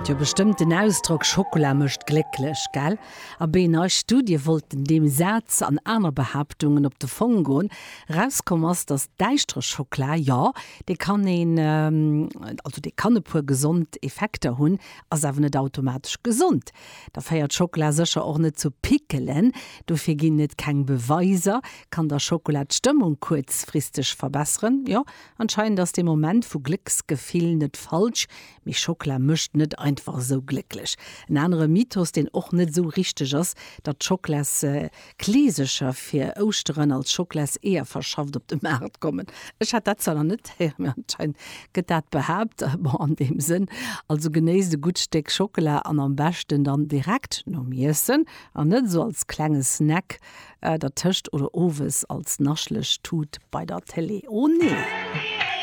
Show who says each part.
Speaker 1: Kennt jo bestëmmt den Ausdrock Schockela mécht glécklech, gell? Abee, nei Studie wollten deem Saz an aner Behaaptungen op de Fong goen. Erauskomm ass, datt däischtere Schockela, jo, dee kann een, also dee kann e puer gesond Effekter hunn, ass awer net automatesch gesond. Da féiert Schockela sécher och net zu Pickelen, dofir ginn et keng Beweiser. Kann da Schockela d'Stëmmung kuerzfristeg verbesseren? Jo, anscheinend ass dee Moment vu Glécksgefill net falsch, mee Schockela mécht net einfach esou glécklech. En anere Mythos, deen och net esou richteg ass, datt Schocklas Kleesecher fir Ouschteren als Schocklas-Eeër verschafft op de Maart kommen. Ech hat dat zwar nach net héieren, mee anscheinend gëtt dat behaapt. Bon, an deem Sënn, also genéisst e gutt Stéck Schockela an am beschten dann direkt nom Iessen an net esou als klenge Snack dertëscht oder owes als naschleg Tut bei der Télé. Oh nee!